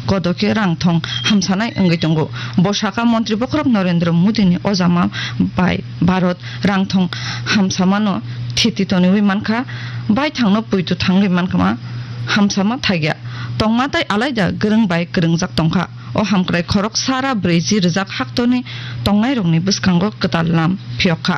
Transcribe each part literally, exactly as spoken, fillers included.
kodo khe rang thong hamsanai wngwi tongo. Bo sakha, Montri bokhorok Narendra Modi ni ojama bai Bharat rang thong hamsamano thiti toniwi mankha, baithangno puitu thangwi mankha, hamsama thagya. Tongma tai alaida kwrwng bai kwrwngjak tongkha. O hamkrai khorok sara brwichi rwjak haktorni tongnairokni bwskango kwtal lam phiyok kha.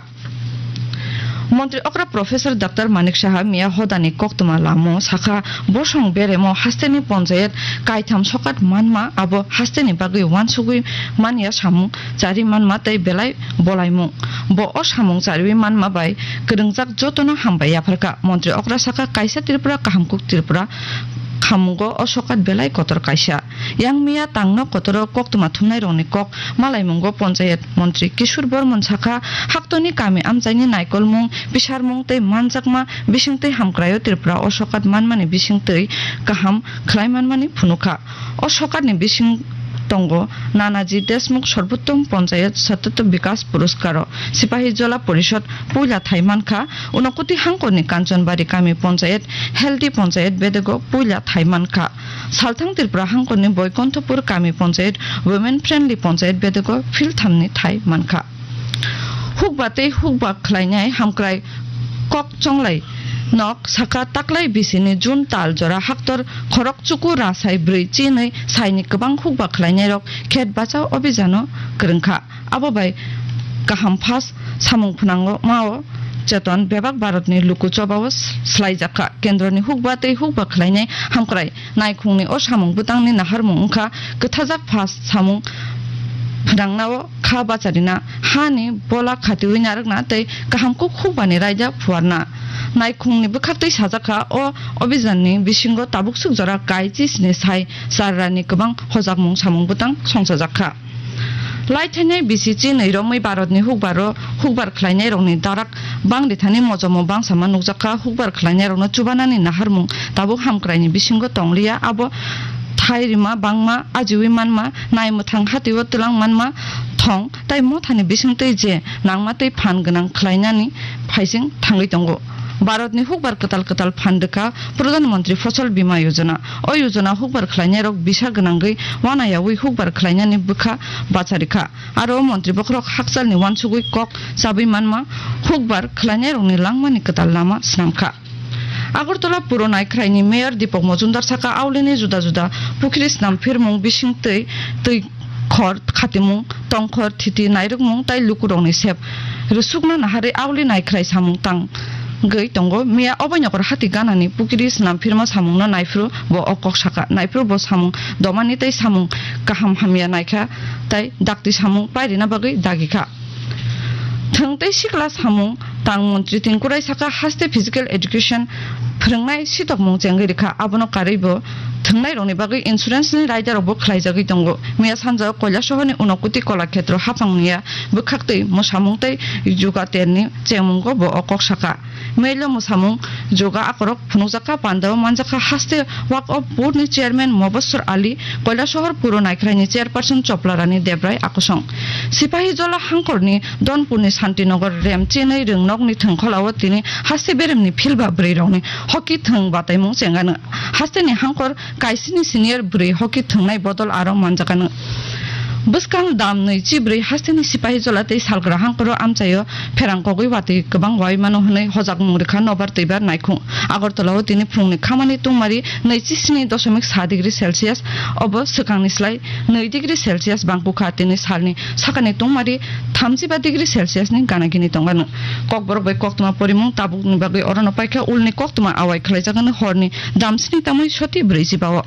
Montri okra Professor Doctor Manik Saha miya hodani koktwma lamo sakha, bosong beremo hasteni ponchayat kaitham sokat manma, abo hasteni bagwi uansugwi manya samung chari manma tei belai bolaimung. Bo o samung chariwi manma bai kwrwngjak jotono hambai yapharkha. Montri okra sakha, kaisa Tripura kahamkuk Tripura khamungo o sokat belai kotor kaisa. Yang miya tangno kotoro koktwma thumnairokni kok malaimungo Ponchayat Montri Kishore Bormon sakha, haktoni kami amchaini naikolmung, bisarmung tei manjakma bisingtwi hamkraio Tripura o sokat manmani bisingtwi kaham khlai manmani phunukha. O sokatni bising tongo Nanaji Deshmukh Sarbottom Ponchayat Sattatya Vikas Puroskaro, Sipahi Jola Porishod puila thai mankha, Unokuti hangkorni Kanchanbari kami Ponchayat Healthy Ponchayat bedego puila thai mankha. Salthang Tripura hangkorni Boikonthopur kami Ponchayat Women Friendly Ponchayat bedego philthamni thai mankha. Hukba tei hukba khlainai hamkrai kok chonglai nok sakha, taklai bisini June tal jora haktor khorok chuku rasai brwi chinwi saini kwbang hukba khlainairok khet bachao obhijano kwrwngkha. Abo bai kaham phas samung phnangmao cheton bebak Bharatni luku chobao slaijakha. Kendroni hukba tei hukba khlainai hamkrai naikhungni o samung bwtangni naharmung wngkha kwthajak phas samung phnangnao kha bacharina, hani bola khatiwi narwkna tei kaham kuk hukbani raida phuarna. Naikhungni bwkhaktwi sajakha, o obhijanni bisingo tabuksuk jora kai chisni sai charrani kwbang hojakmung samung bwtang songchajakha. Lai thainai bisi chinwi romwi Bharatni hukbaro hukbar khlainairokni darak bangri thani mojomo bangsama nukjakha. Hukbar khlainairokno chubanani naharmung tabuk hamkraini bisingo tongliya, abo thai rima bangma, ajiwi manma, nai mwthang hatio twlang manma, thong tai mothani bisingtwi je nangma tei phan gwnang khlainani phaising thangwi tongo. Bharatni hukbar kwtal kwtal phan rwkha Pradhan Mantri Fasal Bima Yojana. O yojana hukbar khlainairok bisa gwnangwi wanayawi hukbar khlainani bwkha bacharikha. Aro montri bokhorok hakchalni uansugwi kok chabwi manma, hukbar khlainairokni langmani kwtal lama swnamkha. Agartala Puro Naikhraini Mayor Deepak Majumdar saka, aulini juda juda pukhri snam phirmung, bising twi, twi khor khatimung, tongkhor thiti nairwkmung tai lukurokni sep rwsukna naharwi auli naikhrai samung tangwi tongo. Miya Obainokor hati ganani pukhri snam phirma samungno naiphuru bo o kok sakha. Naiphuru bo samung domani tei samung kaham hamya naikha tai dakti samung pairina bagwi dagikha. Thwng tei sikla samung tang montri Tengkurai saka, haste physical education phwrwngnai sitokmung chengwi rikha, abono karwi bo thwngnairokni bagwi insurance ni raidarokbo khlaijagwi tongo. Miya sanjao Koilasohorni Unokuti Kolakhetro haphangni ya bwkhaktwi mwsamung tei juga terni chengmungo bo o kok sakha. Melo mwsamung juga akorok phunukjakha, pandao manjakha, haste Waqf Board ni chairman Mobasor Ali, Koilasohor Puro Naikhraini chairperson Choplarani Debrai akosong. Sipahi Jola hangkorni Donpurni Santinagar rem chinwi rwngnokni thwngkholao tini haste beremni philba bwrwirokni hockey thwng bataimung chengano. Hasteni hangkor kaisini senior bwrwi hockey thwngnai bodol aro manjakano. Bwskang dam nwi chibrwi hasteni Sipahi Jola tei Salgra hangkoro amchaio pherang kogwi watwi kwbang wai mano hwnwi hojakmung rwkha nobar twibar naikhung. Agartala o tini phungni khamani tungmari naichi sini doshomik sa degree Celsius, obo swkangni slai nwi degree Celsius bangkukha, tini salni sakani tungmari thamjiba degree Celsius ni gana gini tongano. Kokborok bai koktwma porimung tabukni bagwi orono paikha, ulni koktwma awai khlaijagano horni damsini tamwi soti brwijiba o.